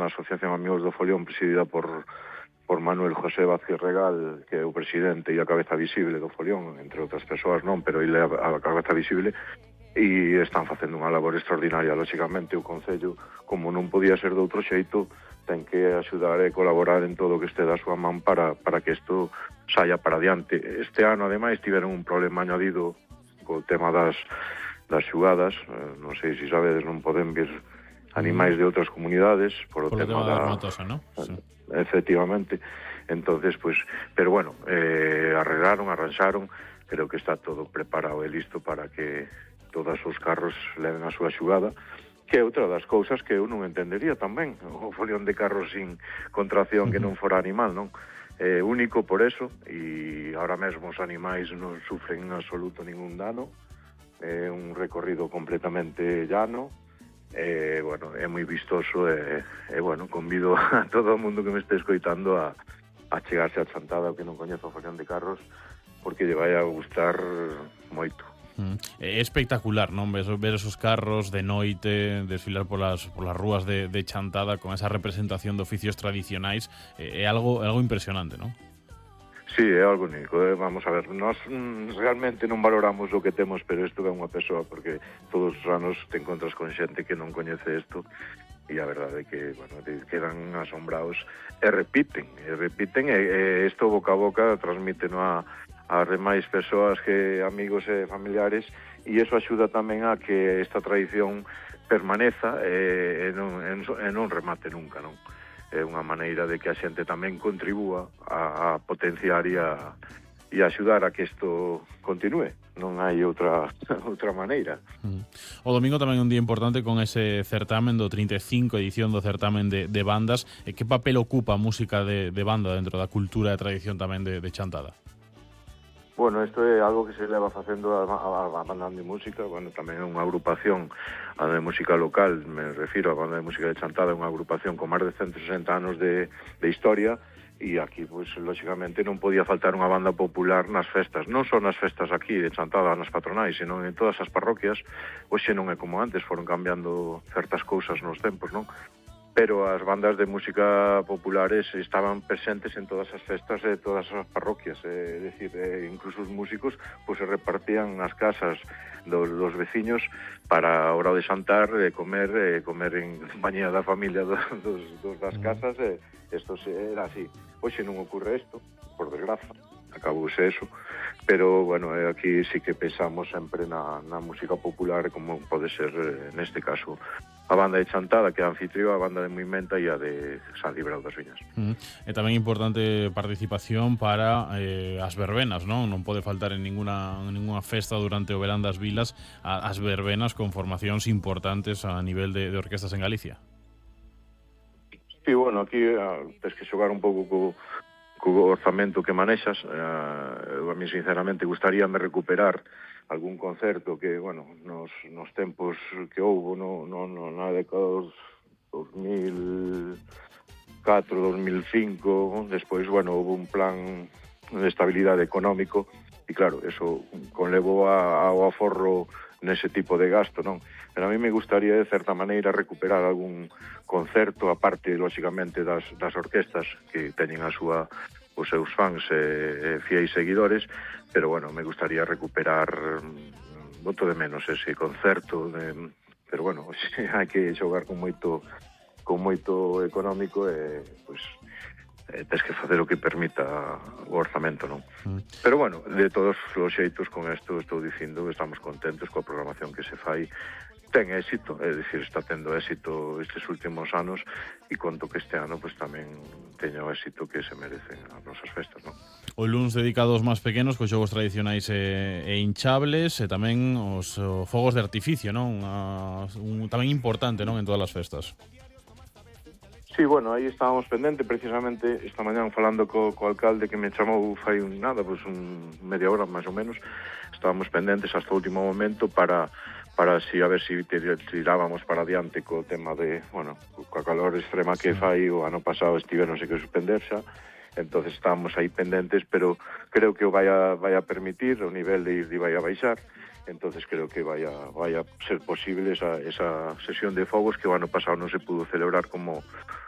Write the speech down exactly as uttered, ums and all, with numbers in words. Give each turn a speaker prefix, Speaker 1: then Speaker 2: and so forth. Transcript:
Speaker 1: unha asociación Amigos do Folión presidida por por Manuel José Vázquez Regal, que é o presidente e a cabeza visible do Folión, entre outras persoas non, pero ele é a cabeza visible, e están facendo unha labor extraordinaria. Lóxicamente, o Concello, como non podía ser de outro xeito, ten que axudar e colaborar en todo o que este da súa man para, para que isto saia para adiante. Este ano, ademais, tiveron un problema añadido co tema das, das xugadas. Non sei se sabedes, non poden vir animais de outras comunidades por o
Speaker 2: Por
Speaker 1: tema,
Speaker 2: tema
Speaker 1: da
Speaker 2: das matosa, ¿no? Sí.
Speaker 1: Efectivamente. Entonces, pues, pero bueno, eh, arreglaron, arranxaron, creo que está todo preparado e listo para que todos os carros leven a súa xugada, que é outra das cousas que eu non entendería tamén, o folión de carros sin contracción que non fora animal, non? É único por eso, e ahora mesmo os animais non sufren en absoluto ningún dano, é un recorrido completamente llano, e, bueno, é moi vistoso e, e bueno, convido a todo o mundo que me este escoitando a, a chegarse a Chantada, o que non coñezo o folión de carros, porque lle vai a gustar moito.
Speaker 2: Mm. É espectacular, non? Ver, ver esos carros de noite desfilar polas, polas rúas de, de Chantada con esa representación de oficios tradicionais, é algo, é algo impresionante, non?
Speaker 1: Sí, é algo único, eh? Vamos a ver, nós mm, realmente non valoramos o que temos, pero isto é unha persoa, porque todos os anos te encontras con xente que non coñece isto, e a verdade é que, bueno, te quedan asombrados, e repiten, e repiten, e, e isto boca a boca transmiten a, a demais persoas, que amigos e familiares, e iso axuda tamén a que esta tradición permaneza e, e, non, e, e non remate nunca, non? É unha maneira de que a xente tamén contribúa a, a potenciar e a, e a axudar a que isto continúe. Non hai outra outra maneira.
Speaker 2: Mm. O domingo tamén é un día importante con ese certamen do trinta e cinco edición do certamen de, de bandas. E que papel ocupa a música de, de banda dentro da cultura e tradición tamén de, de Chantada?
Speaker 1: Bueno, isto é algo que se leva facendo a, a, a banda de música, bueno, tamén é unha agrupación, a de música local, me refiro a banda de música de Chantada, é unha agrupación con máis de ciento sesenta anos de, de historia, e aquí, pois, lóxicamente, non podía faltar unha banda popular nas festas, non só nas festas aquí de Chantada, nas patronais, senón en todas as parroquias. Hoxe non é como antes, foron cambiando certas cousas nos tempos, non? Pero as bandas de música populares estaban presentes en todas as festas de todas as parroquias, é dicir, eh, incluso os músicos pois, se repartían nas casas dos, dos veciños para a hora de xantar, e comer, e comer en compañía da familia dos, dos, dos das casas, e isto era así. Hoxe non ocorre isto, por desgraza, acabouse eso, pero, bueno, aquí sí que pensamos sempre na, na música popular, como pode ser, neste caso, a banda de Chantada, que é a anfitrión, a banda de Moimenta e a de San Librao das Viñas.
Speaker 2: Mm. E tamén importante participación para eh, as verbenas, non? Non pode faltar en ninguna, en ninguna festa durante o verán das vilas a, as verbenas con formacións importantes a nivel de, de orquestas en Galicia.
Speaker 1: Sí, bueno, aquí uh, tens que xogar un pouco co, co orzamento que manexas. Uh, a mí, sinceramente, gustaríame recuperar algún concerto que, bueno, nos, nos tempos que houbo, no, no, no, na década dos dos mil catro, dos mil cinco, despois, bueno, houve un plan de estabilidade económico, e claro, eso conlevou a, ao aforro nese tipo de gasto, non? Pero a mí me gustaría, de certa maneira, recuperar algún concerto, aparte, lóxicamente, das, das orquestas que teñen a súa os seus fans e, e fiéis seguidores, pero, bueno, me gustaría recuperar, boto de menos ese concerto, de, pero, bueno, hai que xogar con moito con moito económico e, pois, eh, tens que facer o que permita o orzamento, non? Mm. Pero, bueno, de todos os xeitos, con isto estou dicindo que estamos contentos coa programación que se fai. Ten éxito, é dicir, está tendo éxito estes últimos anos, e conto que este ano pues, tamén teña o éxito que se merecen as nosas festas, non?
Speaker 2: O luns dedicado aos máis pequenos, cos xogos tradicionais e, e hinchables, e tamén os o, fogos de artificio, non? A, un, tamén importante, non, en todas as festas.
Speaker 1: Sí, bueno, aí estábamos pendente, precisamente, esta mañán falando co, co alcalde, que me chamou fai un nada, pues un media hora, máis ou menos, estábamos pendentes hasta o último momento para para si a ver si tirábamos para adiante co tema de, bueno, coa calor extrema que fai, o ano pasado estiveronse que suspender xa, entonces estábamos aí pendentes, pero creo que o vai a, vai a permitir, o nivel de ir vai a baixar, entonces creo que vai a, vai a ser posible esa, esa sesión de fogos que o ano pasado non se pudo celebrar como